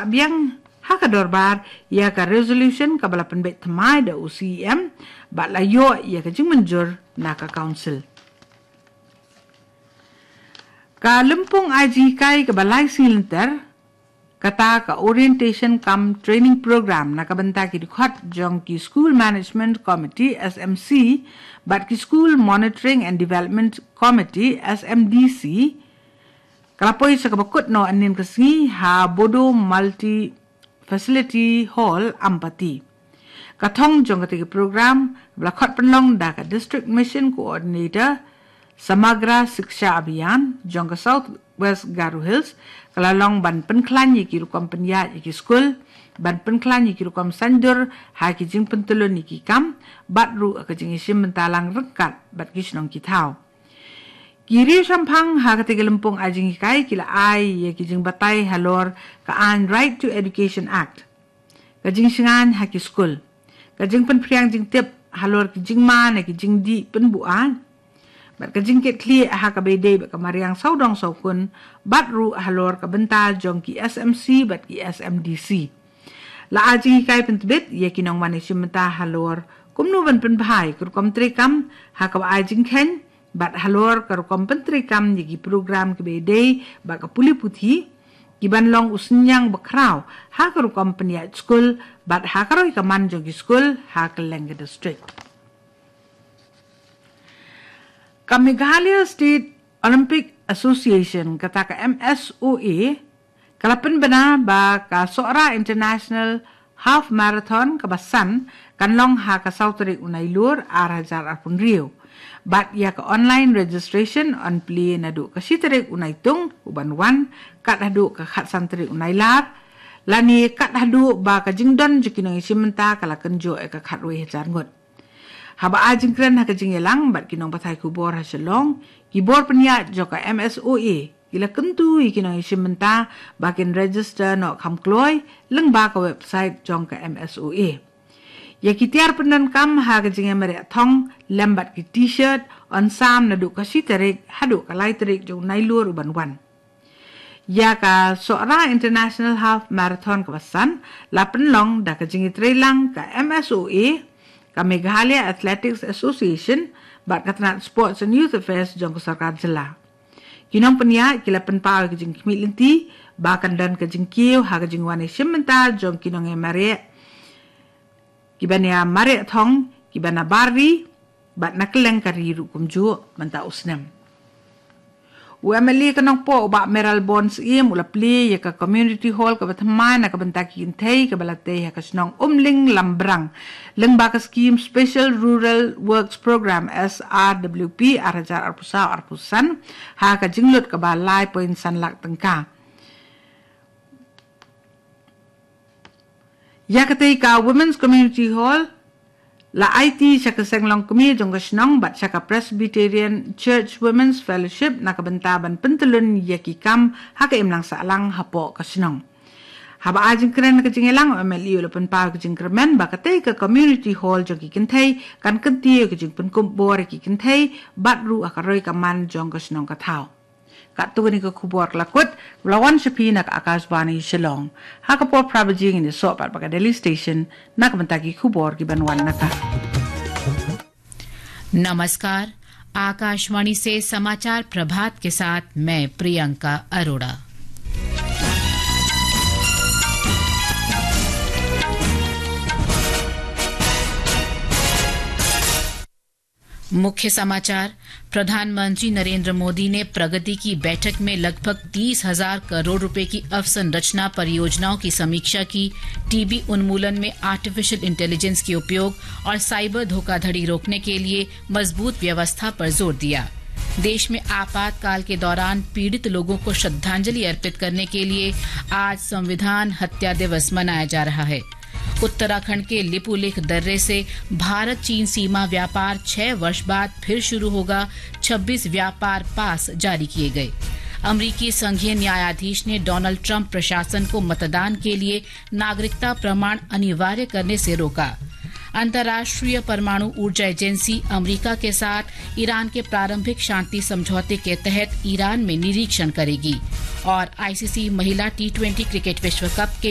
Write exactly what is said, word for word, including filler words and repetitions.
Biang ha ka dorbar ïa ka resolution kaba la pynbeit thymmai da u C E M bad la ïoh ïa ka jingmynjur na ka council. Ka lympung ai jinghikai kaba lai sngi lynter, kata ka orientation cum training program na ka bynta ki dkhot jong ki School Management Committee, S M C, bad ki School Monitoring and Development Committee, S M D C, ka la poi sa kaba kut noh hynnin ka sngi ha Bodo Multi Facility Hall, Ampati. Ka thong jong kata ka program ba la khot pynlong da ka District Mission Coordinator Samagra Shiksha Abhiyan jong ka South West Garo Hills, ka la long ban pynkhlaiñ ïa ki rukom pynïaid ïa ki skul, ban pynkhlaiñ ïa ki rukom saiñdur ha ki jingpyntylun ïa ki kam, bad ruh ka jingïashim bynta lang ryngkat bad ki shnong ki thaw. Ki riewshemphang ha kata ka lympung ai jinghikai ki la ai ïa ki jingbatai halor ka aiñ Right to Education Act, ka jingshngaiñ ha ki skul, ka jingpynphriang jingtip halor ki jingma na ki jingdih pynbuaid, bad ka jingkitkhlieh ha kaba ïadei bad ka mariang sawdong sawkun, bad ruh halor ka bynta jong ki S M C bad ki S M D C. La ai jinghikai pyntbit ïa ki nongwan ïashim bynta halor kumno ban pynbha ïa ka rukom treikam ha kaba ai jingkheiñ, bad halor ka rukom pyntreikam ïa ki program kiba ïadei bad ka pule puthi, ki ban long u synñiang bakhraw ha ka rukom pynïaid skul bad ha ka roi ka man jong ki skul ha kylleng ka district. Ka Meghalaya State Olympic Association, kata ka M S O A, ka la pynbna ba ka Sohra International Half Marathon kaba san kan long ha ka saw tarik u Nailur ar hajar arphew hynriew. Bad ïa ka online registration yn plie naduh ka shi tarik u Naitung u ban wan, kat haduh ka khatsan tarik u Nailar, lane kat haduh ba ka jingdon jong ki nongïashim bynta ka la kynjoh ïa ka khatwei hajar ngut. Haba ai jingkren ha ka jingïalang bad ki nongpathai khubor ha Shillong, ki bor pynïaid jong ka M S O A ki la kyntu ïa ki nongïashim bynta ba kin register noh kham kloi lyngba ka website jong ka M S O A. Ïa ki tiar pyndonkam ha ka jingïamareh thong lem bad ki T-shirt yn sam naduh ka shi tarik haduh ka lai tarik jong u Nailur u ban wan. Ïa ka Sohra International Half Marathon kaba san la pynlong da ka jingïatreilang ka M S O A, ka Meghalaya Athletics Association bad ka tnat Sports and Youth Affairs jong ka sorkar jylla. Ki nongpynïaid ki la pynpaw ïa ka jingkhmih lynti ba kan don ka jingkiew ha ka jingwan ïashim bynta jong ki nongïamareh, ki ban ïamareh thong, ki ban ïabar ri bad na kylleng ka ri ruh kumjuh mynta u snem. U M L A ka Nongpoh u Bah Mayralborn Syiem u la plie ïa ka community hall kaba thymmai na ka bynta ki kynthei kaba la tei ha ka shnong Umling Lambrang, lyngba ka skhim Special Rural Works Programme, S R W P, ar hajar arphew saw arphew san, ha ka jinglut kaba lai point san lak tyngka. Ïa katei ka Women's Community Hall la aiti sha ka seng longkmie jong ka shnong bad sha ka Presbyterian Church Women's Fellowship na ka bynta ban pyntylun ïa ki kam ha ka imlang sahlang hapoh ka shnong. Haba ai jingkren ha ka jingïalang, u M L A u la pynpaw ïa ka jingkyrmen ba katei ka community hall jong ki kynthei kan kyntiew ïa ka jingpynkup bor ïa ki kynthei bad ruh ha ka roi ka man jong ka shnong ka thaw. Katto katne ka khubor ka la kut, ba la wan sha phi na ka Akashvani Shillong. Ha ka por phra baje ngin ïasoh pat bad ka Delhi Station na ka bynta ki khubor ki ban wan na ka. नमस्कार, आकाशवाणी से समाचार प्रभात के साथ मैं प्रियंका अरोड़ा। मुख्य समाचार। प्रधानमंत्री नरेंद्र मोदी ने प्रगति की बैठक में लगभग तीस हज़ार करोड़ रुपए की अवसंरचना परियोजनाओं की समीक्षा की। टीबी उन्मूलन में आर्टिफिशियल इंटेलिजेंस के उपयोग और साइबर धोखाधड़ी रोकने के लिए मजबूत व्यवस्था पर जोर दिया। देश में आपातकाल के दौरान पीड़ित लोगों को श्रद्धांजलि अर्पित करने के लिए आज संविधान हत्या दिवस मनाया जा रहा है। उत्तराखंड के लिपुलेख दर्रे से भारत चीन सीमा व्यापार छह वर्ष बाद फिर शुरू होगा, छब्बीस व्यापार पास जारी किए गए। अमरीकी संघीय न्यायाधीश ने डोनाल्ड ट्रंप प्रशासन को मतदान के लिए नागरिकता प्रमाण अनिवार्य करने से रोका। अंतर्राष्ट्रीय परमाणु ऊर्जा एजेंसी अमेरिका के साथ ईरान के प्रारंभिक शांति समझौते के तहत ईरान में निरीक्षण करेगी। और आईसीसी महिला टी ट्वेंटी क्रिकेट विश्व कप के